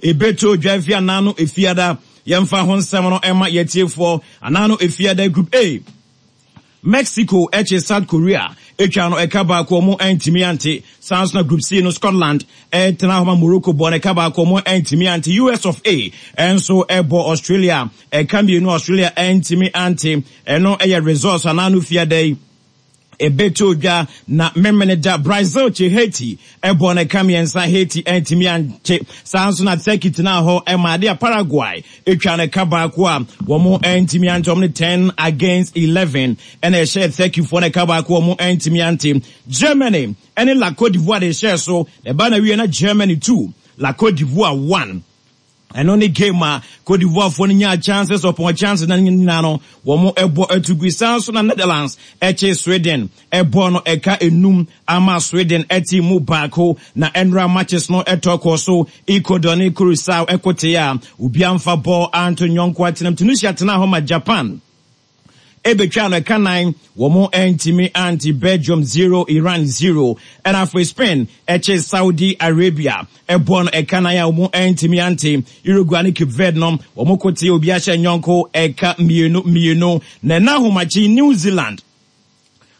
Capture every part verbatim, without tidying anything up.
Ebeto dwa fi anano efiada. Yɛmfa ho nsɛm no ɛma yɛtiefoɔ anano efiada. Group A, Mexico ɛkye South Korea etwa no ɛka baako, ɔmo ɛntumi ante. Saa nso na Group C no, Scotland ɛtena hɔ ma Morocco bɔ no ɛka baako, ɔmo ɛntumi ante. U S of A ɛnso ɛbɔ Australia ɛka mmienu, Australia ɛntumi ante. Ɛno ɛyɛ results anano fiada yi ebeto dwa. Na memene da, Brazil kye Haiti ɛbɔ ne ka mmiɛnsa, Haiti ɛntumi ante. Saa nso na Turkey tena hɔ ɛma ade a Paraguay etwa ne ka baako a wɔn ɛntumi ante. Wɔn ne ten against eleven ɛna ɛhyɛ Turkey foɔ ne ka baako, wɔn ɛntumi ante. Germany ɛne La Cote d'Ivoire de hyɛ so ɛba na wie na Germany two, La Cote d'Ivoire one. Ɛno ne game a Cote d'Ivoire foɔ no nyaa chances upon chances na nyinaa no wɔn ɛbɔ atugu. San so na Netherlands ɛkye Sweden ɛbɔ no ɛka enum ama Sweden ɛte mu baako. Na ɛnra matches no ɛtɔ kɔ so, Ecuador ne Curacao ɛkote a obiara mfa bɔɔl anto nyɔnko atenam. Tunisia tena hɔ ma Japan ebetwa no ɛka nan, wɔn ntumi ante. Belgium zero, Iran zero. Ɛna afei Spain ɛkye Saudi Arabia ɛbɔ no ɛka nan a wɔn ntumi ante. Uruguay ne Cape Verde no, wɔn kote obi ahyɛ nyɔnko ɛka mmienu mmienu. Na ɛna ahomakye, New Zealand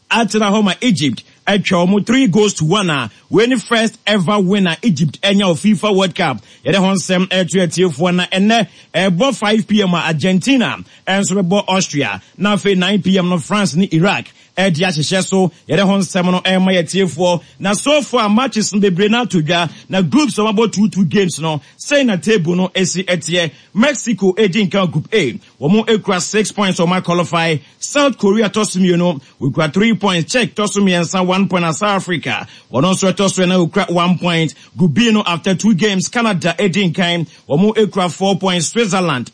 atena hɔ ma Egypt atwa wɔn three goals to one a wei ne first ever winner Egypt ɛnya wɔ FIFA World Cup. Yɛde ho nsɛm ɛto atiefoɔ. Na ɛnɛ ɛbɔ five p m a Argentina ɛnso bɛbɔ Austria, na afei nine p m no, France ne Iraq ɛde ahyehyɛ so. Yɛde ho nsɛm no ɛma yɛtiefoɔ. Na so far matches no bebree no ato dwa na groups a wɔabɔ two two games no, sɛn na table no esi ɛteɛ? Mexico edi nkan Group A, wɔn ekura six points, wɔn qualify. South Korea tɔ so mmienu, wɔkura three points. Czech tɔ so mmiɛnsa, one point, na South Africa wɔn nso ɛtɔ so ɛna wɔkura one point. Group B no, after two games, Canada edi nkan, wɔn ekura four points. Switzerland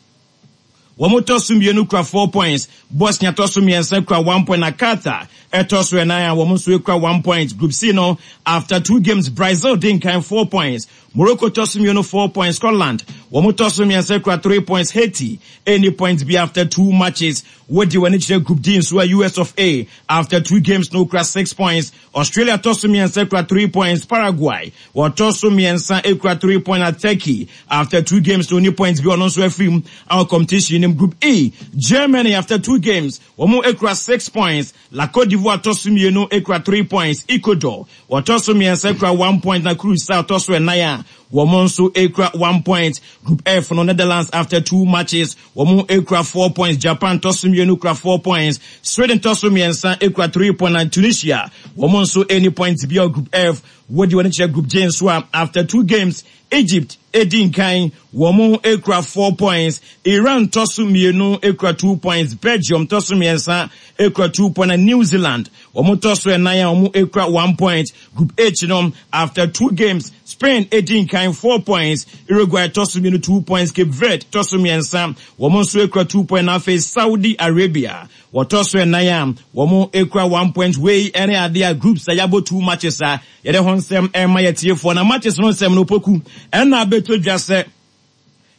wɔn tɔ so mmienu kura four points. Bosnia tɔ so mmiɛnsa kura one point, na Qatar ɛtɔ so ɛnan a wɔn nso kura one point. Group C no, after two games, Brazil di nkan, four points. Morocco tɔ so mmienu, four points. Scotland wɔn tɔ so mmiɛnsa kura three points. Haiti any points bi after two matches. Wɔdi wɔn ani kyerɛ Group D nso a, U S of A after two games no kura six points. Australia tɔ so mmiɛnsa kura three points. Paraguay wɔtɔ so mmiɛnsa kura three points, na Turkey after two games no ni points bi, ɔno nso afiri mu our competition nim. Group E, Germany after two games wɔn kura six points. La Cote d'Ivoire tɔ so mmienu kura three points. Ecuador wɔtɔ so mmiɛnsa kura one point, na Curacao tɔ so ɛnan a wɔn nso kura one point. Group F no, Netherlands after two matches wɔn kura four points. Japan tɔ so mmienu kura four points. Sweden tɔ so mmiɛnsa kura three points, na Tunisia wɔn nso any points bi. Group F, wɔdi wɔn kyerɛ Group J nso a, after two games, Egypt edi nkan, wɔn ekura four points. Iran tɔ so mmienu ekura two points. Belgium tɔ so mmiɛnsa ekura two points, na New Zealand wɔn tɔ so ɛnan a wɔn ekura one point. Group H no, after two games, Spain edi nkan, four points. Uruguay tɔ so mmienu, two points. Cape Verde tɔ so mmiɛnsa, wɔn nso ekura two points, na afei Saudi Arabia wɔtɔ so ɛnan a wɔn ekura one point. Wei ɛne adeɛ a groups a yɛabɔ two matches a yɛde ho nsɛm ɛma yɛtiefoɔ. Na matches no nsɛm no poku ɛna abɛtɔ dwa sɛ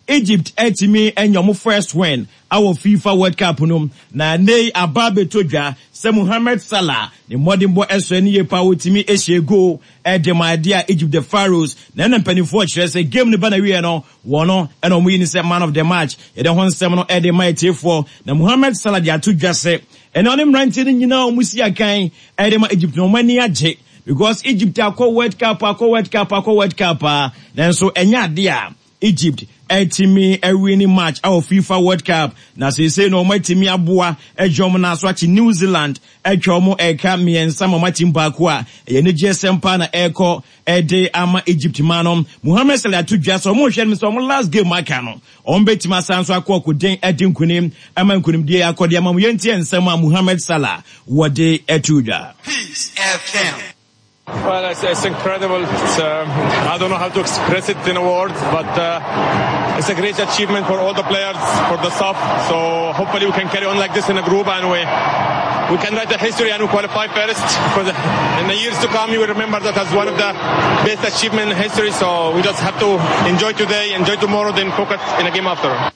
Egypt ɛtumi ɛnya ɔmo first win awɔ FIFA World Cup no. Na ne aba abɛtɔ dwa sɛ Mohamed Salah ne mmɔdenbɔ ɛsɔ ne yie pa, wɔtumi ahyia goal ɛde ma adeɛ a Egypt, the Pharaohs. Na ɛna mpanimfoɔ kyerɛ sɛ game no ba na wie no, wɔn no ɛna wɔn yi ne sɛ man of the match. Yɛde ho nsɛm no ɛde ma etiefoɔ. Na Mohamed Salah de ato dwa sɛ ɛna ɔne mmeranteɛ no nyinaa wɔn si akan ɛde ma Egypt na wɔn ani agye because Egypt akɔ World Cup, akɔ World Cup, akɔ World Cup a, nanso ɛnyɛ adeɛ a Egypt ɛtumi ɛwin match ɛwɔ FIFA World Cup. Na seesei no wɔn atumi aboa ɛgye wɔn nan so akyi New Zealand atwa wɔn ɛka mmiɛnsa ma wɔn ati baako a ɛyɛ anigye sɛm paa na ɛrekɔ ɛde ama Egypt ma no. Mohamed Salah ato dwa sɛ wɔn rehwɛ no sɛ wɔn last game aka no, wɔn bɛtumi asan so akɔ ɔkoden ɛde nkunim ama nkunimdie akɔde ama mu. Yɛntie nsɛm a Mohamed Salah wɔde ɛto dwa. Peace F M. Well, it's, it's incredible. It's, um, I don't know how to express it in a word, but uh, it's a great achievement for all the players, for the staff. So hopefully we can carry on like this in a group and we we can write the history and we qualify first. Because in the years to come, you will remember that as one of the best achievement in history. So we just have to enjoy today, enjoy tomorrow, then focus in a game after.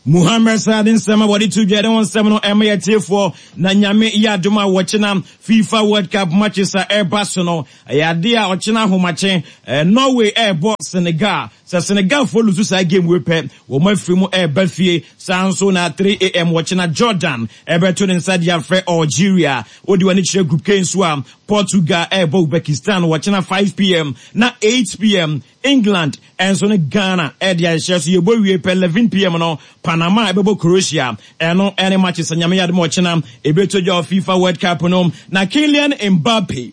Muhammed Salah de nsɛm a wɔde to dwa de ho nsɛm no ɛma yɛtiefoɔ. Na Nyame yɛ adom a, wɔkyena FIFA World Cup matches a ɛreba so no, ɛyɛ adeɛ a ɔkyena ahomakye Norway ɛrebɔ Senegal. Sɛ Senegalfoɔ lose saa game wei pɛ, wɔn afiri mu ɛreba fie. Saa nso na three a m wɔkyena Jordan ɛbɛto ne nsa de afrɛ Algeria. Wode w'ani kyerɛ Group K nso a, Portugal ɛrebɔ Uzbekistan wɔkyena five p m, na eight p m. England ɛnso ne Ghana ɛde ahyɛ so. Yɛbɔ wie pɛ, eleven p m no, Panama ɛbɛbɔ Croatia. Ɛno ɛne matches Nyame yɛ adom ɔkyena ɛbɛtɔ dwa wɔ FIFA World Cup no. Na Kylian Mbappe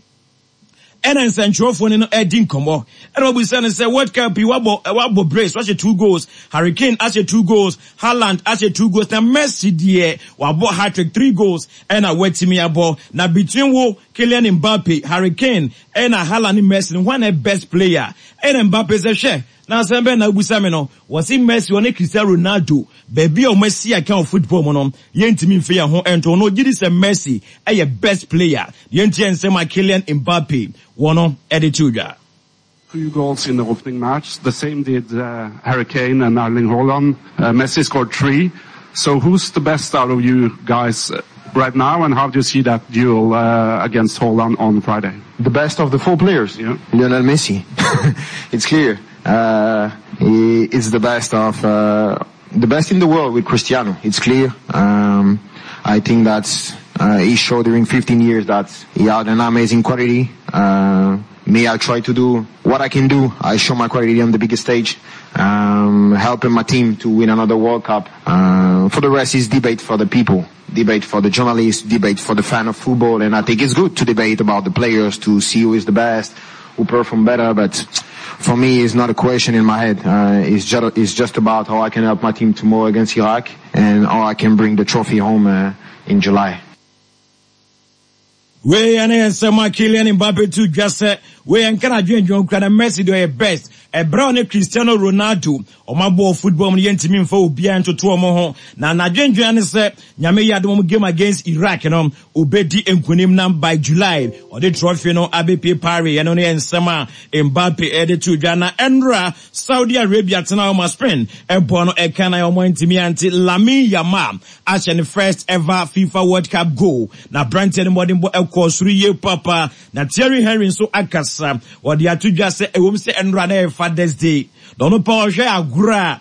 ɛna nsɛntwerɛfoɔ no no ɛdi nkɔmmɔ, ɛna wɔbusa no sɛ World Cup yi wabɔ wabɔ brace, wahyɛ two goals, Harry Kane ahyɛ two goals, Haaland ahyɛ two goals, na Messi deɛ wabɔ hat-trick, three goals ɛna watumi abɔ. Na between wo Kylian Mbappe, Harry Kane ɛna Haaland ne Messi no, hwan na best player? Ɛna Mbappe sɛ, hwɛ, na asɛm bɛn na abusa me no? Wɔsi Messi, ɔne Cristiano Ronaldo, baabi a wɔn asi aka wɔ football mu no, yɛntumi mfe yɛn ho ɛnto no. Ogye di sɛ Messi ɛyɛ best player. Yɛntie nsɛm a Kylian Mbappe wɔn ɛde to dwa. Two goals in the opening match. The same did uh, Harry Kane and Erling Haaland. Uh, Messi scored three. So who's the best out of you guys right now, and how do you see that duel uh, against Haaland on Friday? The best of the four players? Yeah. Lionel Messi. It's clear. Uh, he is the best of uh, the best in the world with Cristiano. It's clear. Um, I think that uh, he showed during fifteen years that he had an amazing quality. Uh, me, I try to do what I can do. I show my quality on the biggest stage, um, helping my team to win another World Cup. Uh, for the rest is debate for the people, debate for the journalists, debate for the fan of football, and I think it's good to debate about the players, to see who is the best, who perform better, but for me, it's not a question in my head. Uh, it's just, it's just about how I can help my team tomorrow against Iraq and how I can bring the trophy home uh, in July. Wei ɛne nsɛm a Kylian Mbappe to dwa sɛ wei ɛnka na adwendwen kura na Messi deɛ ɔyɛ best. Ɛbrɛ ne Cristiano Ronaldo ɔmo abɔ football mu no, yɛntumi mfa obiara ntoto ɔmo ho. Na n'adwendwen ne sɛ Nyame yɛ adom, ɔmo game against Iraq no, obɛdi nkonim nam by July ɔde trophy no abɛpie Paris. Ɛno no yɛ nsɛm a Mbappe ɛde to dwa. Na ɛnora Saudi Arabia tena ɔmo Spain ɛbɔ no ɛka na ɔmo ntumi ante. Lamine Yamal ahyɛ ne first ever FIFA World Cup goal, na aberanteɛ no mmɔdenbɔ ɛkɔ soro yie papa. Na Thierry Henry nso akasa, wɔde ato dwa sɛ ɛwom sɛ ɛnora na ɛyɛ Father's Day, na ɔno pa ɔhwɛ agorɔ a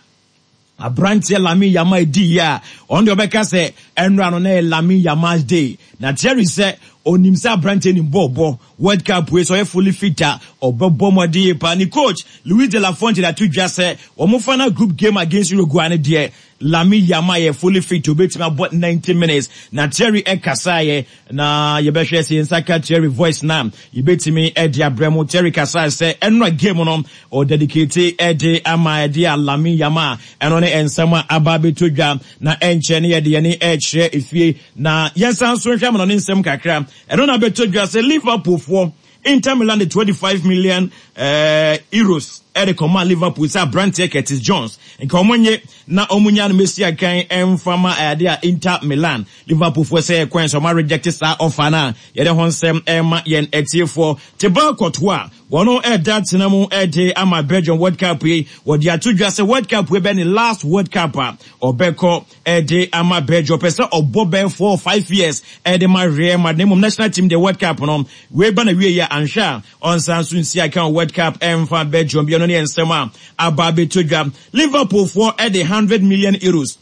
aberanteɛ Lamine Yamal edi yie a, ɔno deɛ ɔbɛka sɛ ɛnora no na yɛ Lamine Yamal's day. Na Thierry sɛ onim sɛ aberanteɛ nim bɔɔbɔ. World Cup wei sɛ ɔyɛ fully fit a, ɔbɛbɔ mmɔden yie paa. Ne coach Luis de la Fuente de ato dwa sɛ wɔn final group game against Uruguay no deɛ, Lamine Yamal yɛ fully fit, obetumi abɔ ninety minutes. Na Thierry ɛkasaeɛ, na yɛbɛhwɛ sɛ yɛn nsa ka Thierry voice na yɛbɛtumi ɛde abrɛ mu. Thierry kasaeɛ sɛ ɛnora game no ɔdedicate ɛde ama ɛde a Lamine Yamal. Ɛno ne nsɛm a aba abɛto dwa. Na ɛnkyɛn ne yɛde yɛne ɛrekyerɛ efie na yɛnsan so nhwɛ ama no ne nsɛm kakra. Ɛno na abɛto dwa sɛ Liverpool foɔ, Inter Milan de twenty-five million uh, euros ɛde kɔma Liverpool sɛ aberanteɛ Curtis Jones nka ɔmo nye na ɔmo nya no mesi akan ɛmfama ɛade a Inter Milan. Liverpool foɔ sɛ kwan sɛ ɔmo reject saa offer no a yɛde ho nsɛm ɛma yɛn atiefoɔ. Thibaut Courtois wɔn ɛda tena mu ɛde ama Belgium World Cup yi. Wɔde ato dwa sɛ World Cup yi bɛ ne last World Cup a ɔbɛkɔ ɛde ama Belgium. Ɔpɛ sɛ ɔbɔ bɛyɛ four or five years ɛde ma Real Madrid, na mmom national team de, World Cup no wei ba na wie yɛ anhwɛ a, ɔnsan so nsi aka World Cup ɛmfa Belgium bi. Ɛno ne yɛ nsɛm a aba abɛto dwa. Liverpool foɔ ɛde hundred million euros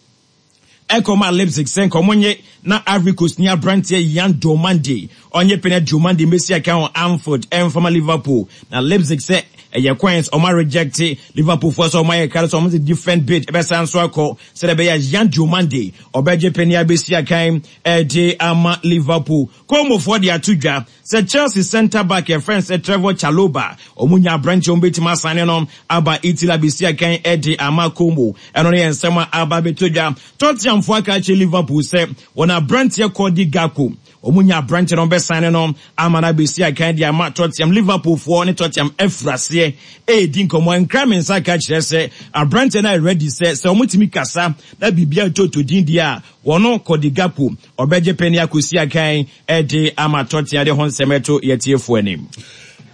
ɛkɔma Leipzig sɛ nkɔmɔ nye na Ivory Coast ni aberanteɛ Yan Diomande ɔnyɛ pene Diomande mbɛsi aka wɔ Anfield ɛmfama Liverpool. Na Leipzig sɛ ɛyɛ coins ɔma reject. Liverpool foɔ sɛ ɔma yɛ kare sɛ ɔmo de different bid ɛbɛsan so akɔ sɛdeɛ ɛbɛyɛ Yan Diomande ɔbɛgye pene abɛsi akan ɛde ama Liverpool. Komofoɔ de ato dwa sɛ Chelsea centre back yɛfrɛ sɛ Trevor Chalobah, ɔmo nya aberanteɛ ɔmo bɛtumi asane no aba Italy abɛsi akan ɛde ama Como. Ɛno no yɛ nsɛm a aba abɛto dwa. Tottenhamfoɔ aka akyerɛ Liverpool sɛ wɔn aberanteɛ Cody Gakpo, ɔmo nya aberanteɛ no ɔbɛsane no ama no abɛsi akan de ama Tottenham. Liverpool foɔ ne Tottenham afiri aseɛ ɛredi nkɔmmɔ. Nkra me nsa ka kyerɛ sɛ aberanteɛ no ayɛ ready sɛ sɛ ɔmo tumi kasa na biribiara toto din deɛ a, wɔno Cody Gakpo ɔbɛgye pɛni akɔsi akan ɛde ama Tottenham. De ho nsɛm ɛto yɛtiefoɔ anim.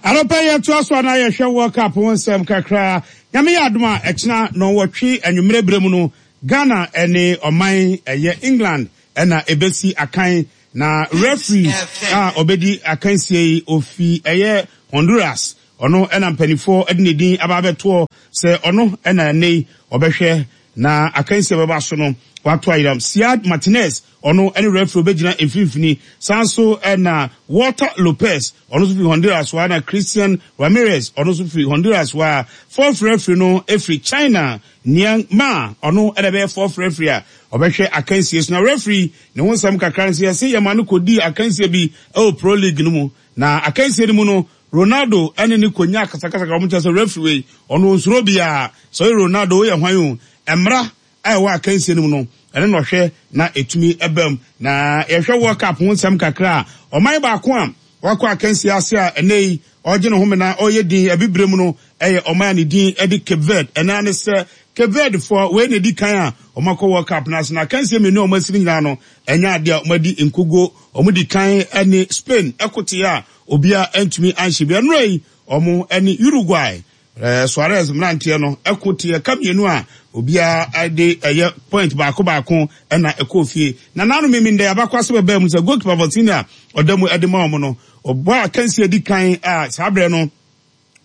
Anɔpɛ yɛtoa so ana yɛhwɛ World Cup ho nsɛm kakra. Nyame yɛ adom a, ɛkyena nɔnwɔtwe anwummerɛ berɛ mu no, Ghana ɛne ɔman ɛyɛ England ɛna ebesi akan na referee a ɔbɛdi akansie yi ofi ɛyɛ Honduras ɔno ɛna mpanimfoɔ ɛde ne din aba abɛtoɔ sɛ ɔno ɛna ɛnɛ yi ɔbɛhwɛ na akansie bɛba so no wato ayiram Siad Martinez ɔno ɛne referee obɛgyina mfimfini san so ɛna Walter Lopez ɔno nso firi Honduras wa na Christian Ramirez ɔno nso firi Honduras wa fourth referee no efiri China Niang Ma ɔno ɛna ɛbɛyɛ fourth referee a ɔbɛhwɛ akansie so na referee ne ho nsɛm kakra nso yɛsɛ yɛma no kɔdi akansie bi ɛwɔ pro league no mu na akansie no mu no Ronaldo ɛne ne konya akasakasa wɔn kyerɛ sɛ referee wei ɔno onsuro biara sɛ ɔyɛ Ronaldo oyɛ hwan o mmra a ɛwɔ akansie no mu no ɛne na ɔhwɛ na etumi ɛbɛm na yɛhwɛ World Cup ho nsɛm kakra a ɔman baako a wakɔ akansie ase a ɛnɛ yi ɔgye ne ho na ɔyɛ din abibire mu no ɛyɛ ɔman a ne din ɛde Cape Verde ɛna ne sɛ Cape Verde foɔ wei na edi kan a wɔn akɔ World Cup no ase na akansie mmienu a wɔn asi nyinaa no ɛnyɛ adeɛ a wɔn adi nkogo wɔn di kan ɛne Spain ɛkote a obiara ntumi anhyɛ bi ɛnura yi wɔn ɛne Uruguay ɛɛ Suarez mmeranteɛ no ɛko te ɛka mmienu a obiara de ɛyɛ point baako baako ɛna ɛkɔ fie na nanu mímí ndɛ abakɔ asɛ bɛbɛn mu sɛ goalkeeper Vozinha ɔda mu ɛde ma wɔn no ɔbɔ akansie di kan a saa abirɛ no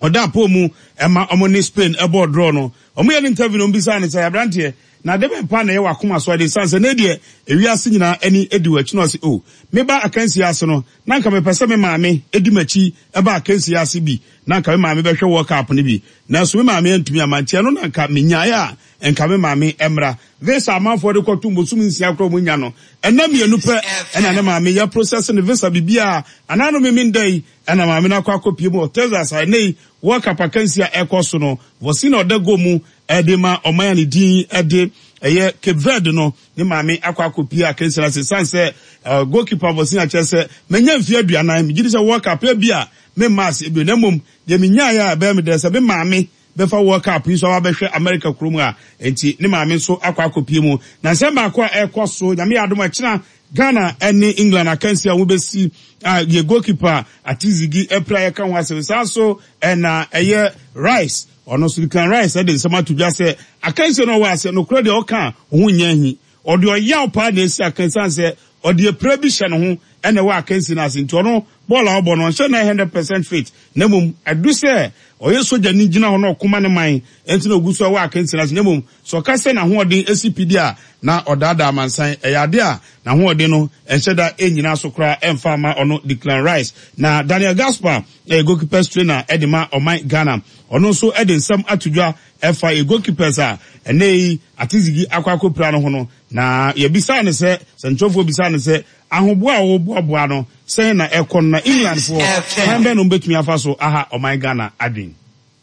ɔda apɔ mu ɛma wɔn ne Spain ɛbɔ draw no wɔn yɛ ne interview no mbisa ne sɛ aberanteɛ na de bɛn pa na ɛyɛ wakoma so ade san sɛ ne deɛ ewiase nyinaa ani edi wɔ akyi na ɔsi o meba akansie ase no na nka mepɛ sɛ me maame edi m'akyi ɛba akansie ase bi na nka me maame bɛhwɛ World Cup no bi nanso me maame antumi ama nkyɛn no na nka menyaeɛ a nka me maame mmra visa amanfoɔ de kɔto mbosum nsia korɔ mu nya no ɛna mmienu pɛ ɛna ne maame yɛ process ne visa biribiara anaa no mimi nda yi ɛna maame no akɔ akɔpie mu wɔ Texas a ɛnɛ yi World Cup akansie a ɛkɔ so no wɔsi na ɔda go mu ɛde ma ɔman a ne din ɛde ɛyɛ Cape Verde no ne maame akɔ akɔpie akansie no ase san sɛ ɛɛ goalkeeper wɔsi akyerɛ sɛ menya mfie aduanan megye di sɛ World Cup ebi a me mma ase ebi na mmom deɛ menyaeɛ a ɛbɛyɛ me dɛ sɛ me maame bɛfa World Cup yi so aba bɛhwɛ America kurom a nti ne maame nso akɔ akɔpie mu na nsɛm baako a ɛkɔ so nyame yɛ adom ɛkyena Ghana ɛne England akansi a wɔbɛsi a yɛ goalkeeper Atizigi ɛpira yɛka ho asɛm saa so ɛna ɛyɛ Rice ɔno nso Declan Rice ɛde nsɛm ato dwa sɛ akansi no ɔwɔ ase nokorɛ deɛ ɔka a ɔho nyɛ ahi ɔde ɔyaw paa na esi akansi sɛ ɔde apira bi hyɛ ne ho ɛna ɛwɔ akansi no ase nti ɔno bɔɔl a ɔbɔ no ɔnhyɛ nine hundred percent fit na mmom adu sɛ ɔyɛ sogyani gyina hɔ na ɔkoma ne man ɛnti na ogu so ɛwɔ akansi no ase na mmom sɛ ɔka sɛ n'ahoɔden esi pidi a na ɔdaadaa amansan ɛyɛ ade a n'ahoɔden no ɛnhyɛ da ɛnyina so koraa ɛmfa ama ɔno Declan Rice na Daniel Gaspar ɛyɛ goalkeepers trainer ɛde ma ɔman Ghana ɔno nso ɛde nsɛm ato dwa ɛfa yɛ goalkeepers a ɛnɛ yi Atizigi akɔ akɔpira no ho no na yɛbisa ne sɛ sɛntwerɛfoɔ bisa ne sɛ ahoboa a wɔboaboa no sɛn na ɛkɔ no na Englandfoɔ kwan bɛn na wɔbɛtumi afa so aha ɔman Ghana adwen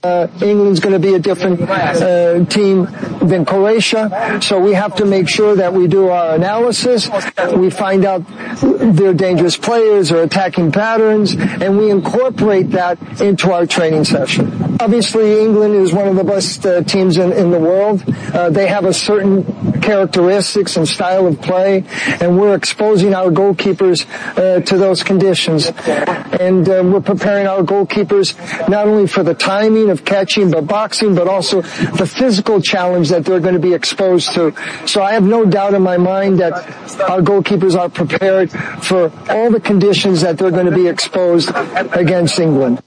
Uh, England's going to be a different uh, team than Croatia, so we have to make sure that we do our analysis. We find out their dangerous players or attacking patterns, and we incorporate that into our training session. Obviously, England is one of the best uh, teams in, in the world. Uh, they have a certain characteristics and style of play, and we're exposing our goalkeepers uh, to those conditions. And uh, we're preparing our goalkeepers not only for the timing of catching, but boxing, but also the physical challenge that they're going to be exposed to. So I have no doubt in my mind that our goalkeepers are prepared for all the conditions that they're going to be exposed against England.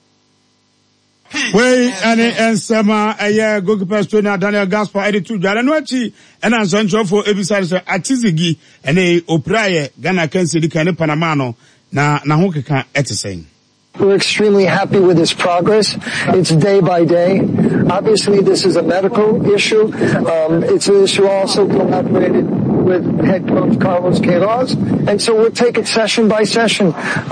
wei ɛne nsɛm a ɛyɛ goalkeeper trainer Daniel Gaspar ɛde to dwa no akyi ɛna nsɛntwerɛfoɔ ebisa no sɛ Atizigi ɛne opiraeɛ Ghana kansi di kan ne Panama no na n'aho keka ɛte sɛn We're extremely happy with his progress. It's day by day. Obviously, this is a medical issue. Um, it's an issue also collaborated with head coach Carlos Queiroz. And so we'll take it session by session.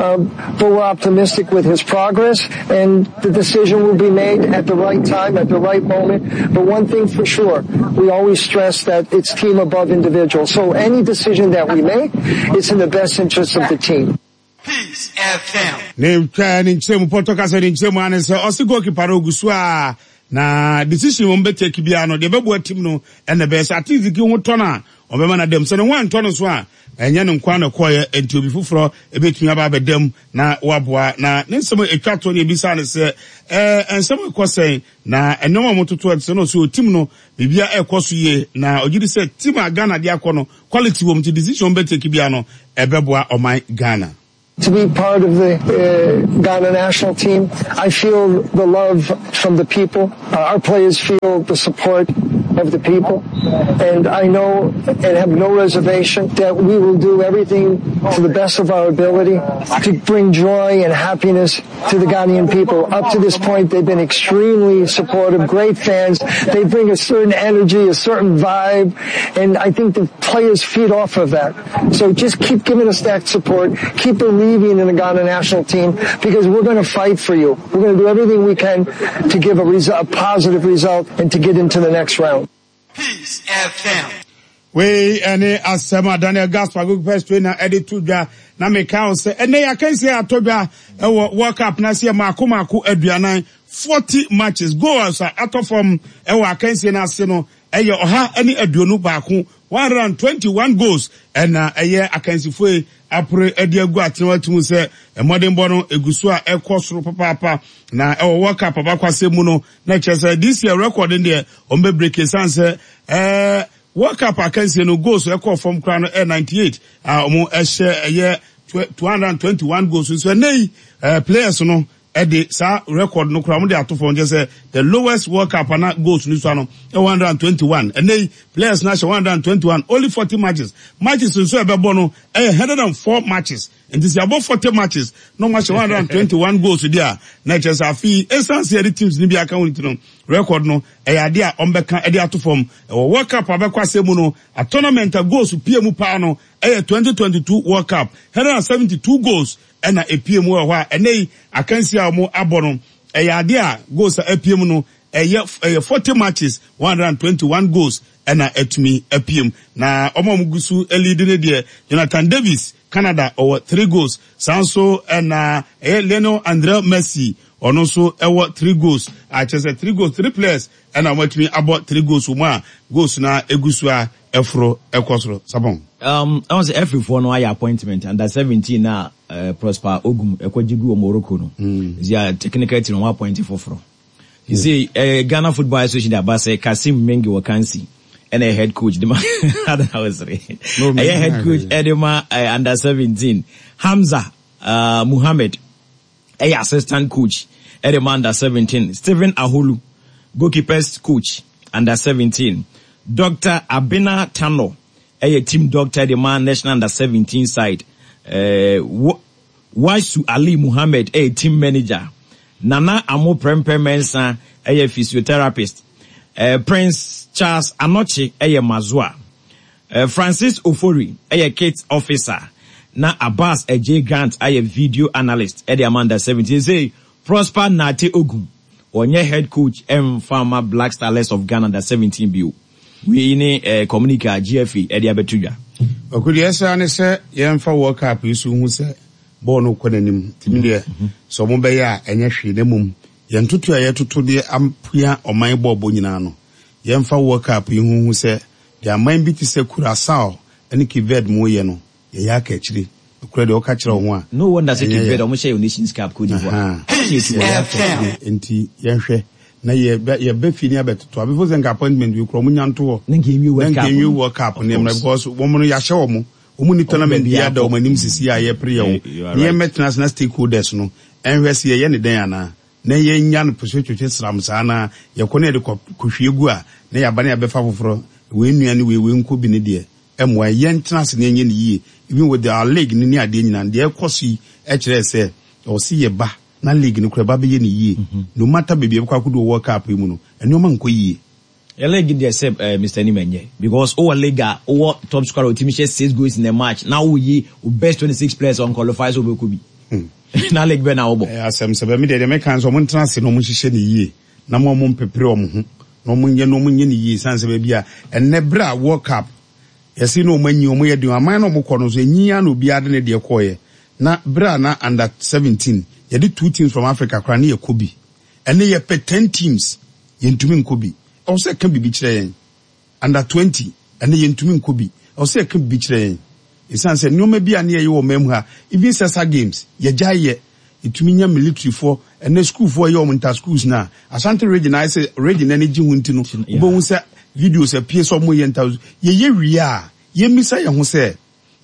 Um, but we're optimistic with his progress, and the decision will be made at the right time, at the right moment. But one thing for sure, we always stress that it's team above individual. So any decision that we make, it's in the best interest of the team. Peace FM. ne twa ne nkyerɛ mu pɔtɔ kasa ne nkyerɛ mu ane sɛ ɔse goalkeeper no ogu so a na decision wɔn bɛ take biara no deɛ bɛboa team no ɛna bɛyɛ sɛ Atizigi ho tɔ no a Ɔbɛma no dɛm sɛ ne ho antɔ no so a, ɛnyɛ ne nkwa na ɛkɔɔyɛ, nti obi foforɔ ɛbɛtumi aba abɛdam na waboa. Na ne nsɛm a ɛtwa toɔ ne ebisa ne sɛ ɛɛ nsɛm ɛkɔ sɛn na nneɛma a wɔtoto ɛte sɛ no so team no biribia ɛkɔ so yie, na ɔgye di sɛ team a Ghana de akɔ no, quality wɔ mu, nti decision bɛtake bia no ɛbɛboa ɔman Ghana. To be part of the uh, Ghana national team, I feel the love from the people. Uh, our players feel the support of the people. And I know and have no reservation that we will do everything to the best of our ability to bring joy and happiness to the Ghanaian people. Up to this point, they've been extremely supportive, great fans. They bring a certain energy, a certain vibe, and I think the players feed off of that. So just keep giving us that support. Keep believing in the Ghana national team, because we're going to fight for you. We're going to do everything we can to give a, resu- a positive result and to get into the next round. Peace F M. Wei ɛne asɛm a Daniel Gaspar, goalkeeper trainer, ɛde to dwa. Na meka wo sɛ ɛnɛ yɛakansie atɔ dwa ɛwɔ World Cup na seɛ maako maako aduanan, forty matches, goals a atɔ fam ɛwɔ akansie no ase no ɛyɛ ɔha ne aduonu baako, one hundred and twenty-one goals, ɛna ɛyɛ akansifoɔ yi apere ɛde agu atena. Atum sɛ mmɔdenbɔ no egu so a ɛkɔ soro papaapa. Na ɛwɔ World Cup abakwasɛ mu no, na kyerɛ sɛ this year record deɛ wɔn bɛ break, esan sɛ ɛɛ World Cup akansie no goals ɛkɔ fam koraa no ɛ ninety-eight a wɔn ɛhyɛ ɛyɛ two hundred and twenty-one goals. Nso ɛnɛ yi ɛɛ players no ɛde saa record no koraa wɔn de ato fam, kyerɛ sɛ the lowest World Cup ana goals no so ano ɛ one hundred and twenty-one. Ɛnɛ yi players no ahyɛ one hundred and twenty-one, only forty matches. Matches nso ɛbɛbɔ no ɛyɛ hundred and four matches, nti sɛ abɔ forty matches na wɔn ahyɛ one hundred and twenty-one goals di a, na kyerɛ sɛ afei esan sɛ yɛde teams no bi aka wɔn ti no, record no ɛyɛ adeɛ a wɔn bɛka ɛde ato fam. Ɛwɔ World Cup abɛkɔ asɛm mu no, a tournament a goals pie mu paa no ɛyɛ twenty twenty-two World Cup, one hundred and seventy-two goals ɛna epie mu wɔ hɔ. A ɛnɛ yi akansi a wɔn abɔ no, ɛyɛ adeɛ a goals a epie mu no ɛyɛ ɛyɛ forty matches, one hundred and twenty-one goals ɛna ɛtumi apue mu. Na wɔn a wɔn gu so lead ne deɛ, Jonathan Davis, Canada, ɔwɔ three goals. Saa nso ɛna ɛyɛ Lionel Andre Messi, ɔno nso ɛwɔ three goals. Akyerɛ sɛ three goals, three players ɛna wɔn atumi abɔ three goals wɔ mu a goals na egu so a ɛforo ɛkɔ soro sapɔn. Um, I was every four no ayɛ appointment under seventeen na uh, Prosper Ogum ɛkɔgye gu wɔ Morocco no. Mm. Zia technical team wɔn appoint foforɔ. You see, uh, Ghana Football Association aba sɛ Kasim Mengi wɔ Kansi ɛna head coach de ma ɛyɛ head coach ɛde ma uh, under seventeen. Hamza uh, Muhammad ɛyɛ assistant coach ɛde ma under seventeen. Stephen Aholu, goalkeepers coach, under seventeen. Doctor Abina Tano ɛyɛ team doctor de ma national under seventeen side. uh, Wasu Ali Muhammad ɛyɛ team manager. Nana Amo Prempeh Mensah ɛyɛ physiotherapist. uh, Prince Charles Anokye ɛyɛ masseur. uh, Francis Ofori ɛyɛ kit officer, na Abbas J Grant ayɛ video analyst ɛde ama under seventeen. Sɛ Prosper Nate Ogum ɔnyɛ head coach ɛmfa ma Black Stars of Ghana under seventeen bio. Wei ne eh, communique a G F A ɛde abɛto dwa. Ɔkò ɛsɛ ne sɛ yɛmfa World Cup yi so hu sɛ bɔɔl no kɔ n'anim. Tìmi deɛ sɛ ɔmo bɛyɛ a ɛnyɛ hwee, na mmom yɛn toto a yɛtoto deɛ ampua ɔman bɔɔbɔ nyinaa no, yɛmfa World Cup yi ho hu sɛ deɛ aman bi te sɛ Curacao ne Cape Verde mu yɛ no, yɛyɛ aka akyire. Okura deɛ ɔka kyerɛ wo ho a. No wonder sɛ Cape Verde ɔmo hyɛ yɛ Nations Cup, Cote d'Ivoire. Nti yɛnhwɛ na yɛbɛ fie ni abɛtoto abɛfo sɛ nka appointment bi kura ɔmo nya nto hɔ na nka enwie World Cup, na nka enwie World Cup nneɛma, because wɔn no yɛahyɛ wɔn wɔn ni tournament bi ada wɔn anim sisi a yɛpere yɛn ho ne yɛn mɛtena ase na stakeholders no ɛnhwɛ sɛ yɛyɛ ne dɛn anaa na yɛnya no pɛsɛ twetwe sram saa na yɛkɔ ne yɛde kɔhwie gu a na yɛaba ne yɛbɛfa foforɔ. Wei nua ne wei wei nkɔ bi ne deɛ ɛmoa yɛn tena ase na yɛnyɛ ne yie, even with our league ne ne adeɛ nyinaa. Deɛ ɛkɔ so yi ɛkyerɛ sɛ ɛwɔ sɛ yɛba na league no kora ɛba bɛyɛ ne yie, no matter baabi ɛbɛkɔ akɔdo wɔ World Cup yi mu no, nneɛma nkɔ yie. Yɛ league deɛ sɛ uh, Mister Nim ɛnyɛ because wowɔ league a wowɔ top scorer otimi hyɛ six goals in a match na woyi wo best twenty six players on qualify sɛ wobɛkɔ bi na league bɛ na wobɔ. Ɛyɛ asɛm sɛ bɛmi deɛ deɛ mɛka nso, ɔmo ntena ase na ɔmo nhyehyɛ ne yie na mo ɔmo mpepere ɔmo ho na ɔmo nyɛ na ɔmo nyɛ ne yie, san sɛ baabi a ɛnɛ bere a World Cup yɛsi na ɔmo anyi ɔmo yɛ den aman na ɔmo kɔ no nso enyi ya na obiara de ne deɛ kɔɔyɛ. Na bere a na under seventeen yɛde two teams from Africa koraa ne yɛ kɔ bi, ɛne yɛpɛ ten teams, yɛntumi nkɔ bi. Ɛwɔ sɛ ɛka biribi kyerɛ yɛn. Under twenty ɛne yɛntumi nkɔ bi. Ɔsɛ ɛka bi kyerɛ yɛn. Ɛsiane sɛ nneɛma bi a ne yɛyɛ wɔ man mu ha, even sɛsa games, yɛgya yɛ. Ɛtumi nya militaryfoɔ, ɛnɛ schoolfoɔ yɛ wɔn inter schools na Ashanti region ayɛ sɛ region ani gye ho nti no, wobɛhu sɛ videos apue sɛ ɔmo yɛ inter yɛyɛ wie a, yɛmmisa yɛn ho sɛ,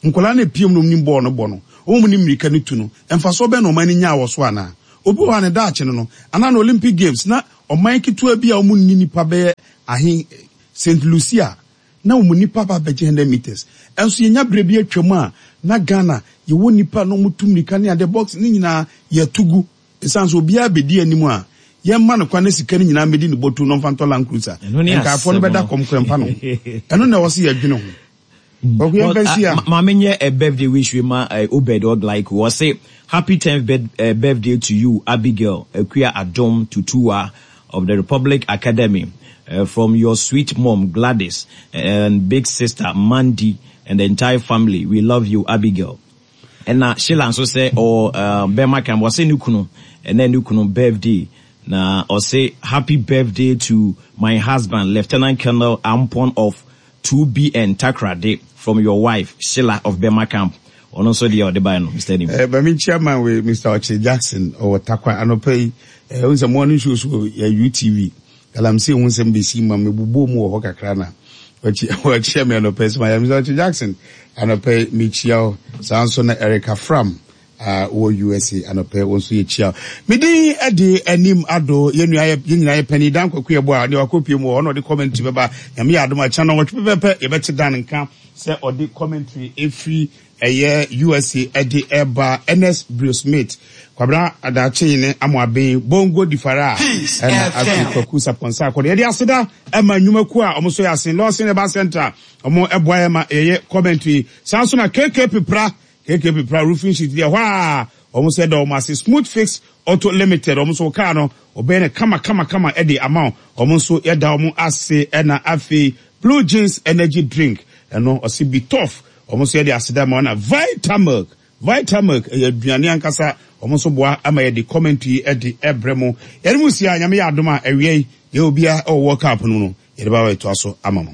nkwadaa no epiem no nim bɔɔl no bɔ no, wɔn mu ne mmirika no tu no, mfasoɔ bɛn na ɔman no nyaa wɔ so anaa? Obi wɔ hɔ a ne daakye no no, anaa na Olympic Games na ɔman ketewa bi a wɔn nni nipa bɛyɛ ahe, Saint Lucia, na wɔn nipa ba bɛgye hundred meters. Ɛnso yɛnya berɛ bi atwam a, na Ghana yɛwɔ nipa na wɔn tu mmirika ne adeɛ box ne nyinaa yɛto gu. Ɛsiane sɛ obiara bɛdi anim a, yɛmma no kwan na sika no nyinaa mmɛdi ne bɔtɔ na ɔmfa ntɔ Land Cruiser. Nkaeɛfoɔ no bɛda kɔm kora mfa no ho. Ɛno na ɛwɔ sɛ yɛdwene ho. Maame nyɛ a birthday wish we ma Obed Oglaiko. Wɔse happy tenth birthday to you, Abigail Akua Adom Tutuwa of the Republic Academy, uh, from your sweet mom Gladys and big sister Mandy and the entire family. We love you, Abigail. And na Sheila nso sɛ ɔ bɛrima kan wɔse ne kunu ɛnɛ ne kunu birthday na ɔse happy birthday to my husband Lieutenant Colonel Ampon of two B N Takrade from your wife Sheila of Bema Camp. Ɔno nso deɛ ɔde bae no, Mister Nim. Eh, bami chairman we Mister Oche Jackson ɔwɔ Takwa anɔpa yi. Eh, wo sɛ mo ano show so yɛ U T V. Galamsey ho nsɛm bɛsi ma mebubuo mu wɔ hɔ kakra na ɔkyia me anɔpa yi. So ma Mister Oche Jackson anɔpa yi mekyia wo. Saa nso na Erica Fram a wɔ U S A anɔpa yi wo nso yɛkyia wo. Medin de anim ado yɛn nua yɛ, yɛn nyinaa yɛ panin Dan Kwaku Yeboah a ne wakɔpie mu wɔ hɔ na ɔde commentary bɛba. Nyame yɛ adom a kyɛn no nwɔtwe pɛpɛɛpɛ yɛbɛte Dan nka sɛ ɔde commentary ɛfiri ɛyɛ U S A ɛde ɛba. Ernest Bruce Smith, Kwabena Adakye ne Amoaben, Bongo Di Fara, ɛna afei Kwaku Sapɔnsa akɔde. Yɛde aseda ɛma nnwumakuo a ɔmo so yɛ asen, Lawson Herbal Center, ɔmo ɛboa yɛ ma yɛyɛ commentary. Saa nso na K K Pepra, K K Pepra roofing sheet deɛ hɔ a ɔmo sɛ dɛ ɔmo ase. Smooth Fix Auto Limited, ɔmo nso kaa no ɔbɛn no kama kama kama ɛde ama wo. Ɔmo nso yɛda ɔmo ase. Ɛna afei Blue Jeans Energy Drink, ɛno ɔsi be tough, ɔmo nso yɛde aseda ma ɔna. Vitamilk, Vitamilk ɛyɛ aduane ankasa, ɔmo nso boa ama yɛde commentary ɛde ɛbrɛ mo. Yɛde mu si a Nyame yɛ adom a ɛwia yi deɛ obiara ɛwɔ World Cup no no yɛde ba bɛtoa so ama mo.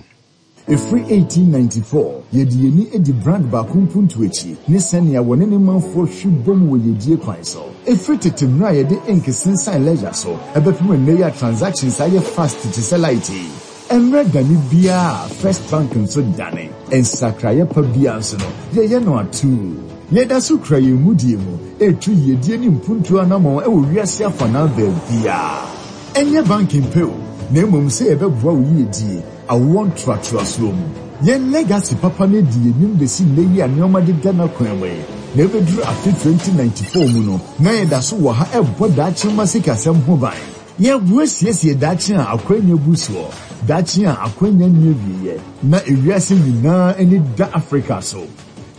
Ɛfiri eighteen ninety-four, yɛde yɛni adi brand baako mpuntu akyi ne sɛnea wɔne ne manfoɔ hwe bom wɔ yɛdie kwan so. Ɛfiri tete mmerɛ a yɛde ink sensan ledger so, ɛbɛpem nnɛ yi a transactions ayɛ fast te sɛ light yi. Mmerɛ dane biara First Bank nso dane. Nsakraeɛ pa biara nso no, yɛyɛ no atuu. Yɛda so kura yɛn mudie mu, ɛretu yiedie ne mpuntuo anammɔn ɛwɔ wiase afanaa baabiara. Ɛnyɛ banking pɛ o, na mmom sɛ yɛbɛboa wo yiedie, awoɔ ntoatoasoɔ mu. Yɛn legacy papa no di yɛnim bɛsi nnɛ yi a nneɛma deda n'akwan mu yi. Na ɛbɛduru afe twenty ninety-four mu no, na yɛda so wɔ ha ɛbɔ daakye mma sikasɛm ho ban. Yɛboa siesie daakye a akwanya gu soɔ, daakye a akwanya nni awieeɛ, na ewiase nyinaa ani da Africa so.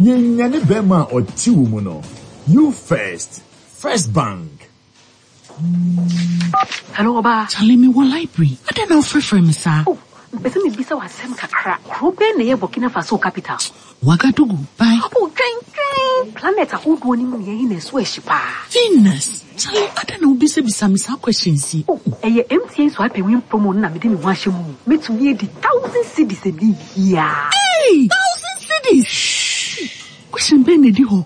Yɛnyane bɛrima a ɔte wo mu no. You first, First Bank. Hello, Oba. Charlie, me wɔ library. I don't know free me, sir. Oh, mpɛ sɛ mebisa wo asɛm kakra. Kuro bɛn na ɛyɛ Burkina Faso capital? Ouagadougou. Bye. Oh, twɛn, twɛn. Planet ahodoɔ no mu na yɛyi na ɛso ahyi paa. Venus. Charlie, I don't know bisa bisa me saa questions yi. Oh, ɛyɛ M T N swipe and win promo no na mede me ho ahyɛ mu. Metumi adi thousand cedis ɛnɛ yi a. Hey, thousand cedis. Shh. Question bɛn na ɛdi hɔ?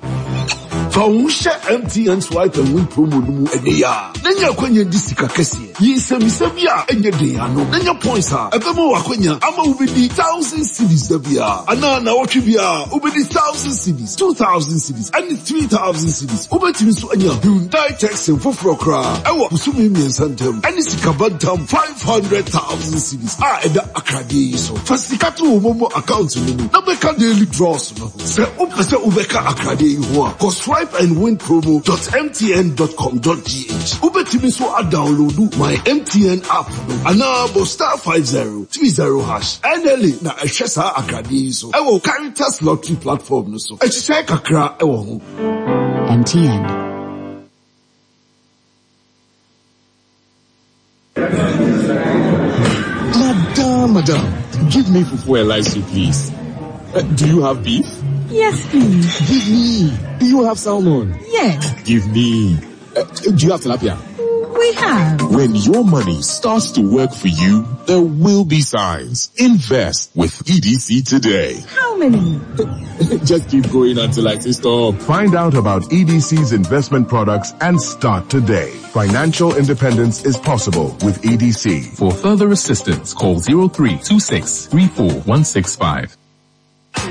Fa wo hyɛ M T N swipe and win promo no mu ɛnɛ yi a, na nya akwanya di sika kɛseɛ. Yi nsɛmmisa bi a ɛnyɛ den ano, na nya points a ɛbɛma wo akwanya ama wobɛdi thousand cedis da biara. Anaa nnawɔtwe biara, wobɛdi thousand cedis, two thousand cedis, ɛne three thousand cedis. Wobɛtumi nso anya Hyundai Texan foforɔ koraa ɛwɔ bosome mmiɛnsa ntam, ɛne sika bantam five hundred thousand cedis a ɛda akradeɛ yi so. Fa sika to wo MoMo account no mu na bɛka daily draws no ho. Sɛ wopɛ sɛ wobɛka akradeɛ yi ho a, kɔ swipe and win promo dot M T N dot com dot G H. Wobɛtumi nso adownload my M T N app no anaa bɔ star five zero three zero hash. N L A na ɛhwɛ saa akradeɛ yi so ɛwɔ Caritas Lottery platform no so. Ɛhyehyɛ kakra ɛwɔ ho. M T N. Madam, madam, give me fufu and light soup, please. Uh, do you have beef? Yes, please. Give me. Do you have salmon? Yes. Give me. Uh, do you have tilapia? We have. When your money starts to work for you, there will be signs. Invest with E D C today. How many? Just keep going until I say stop. Find out about E D C's investment products and start today. Financial independence is possible with E D C. For further assistance, call zero three two six three four one six five.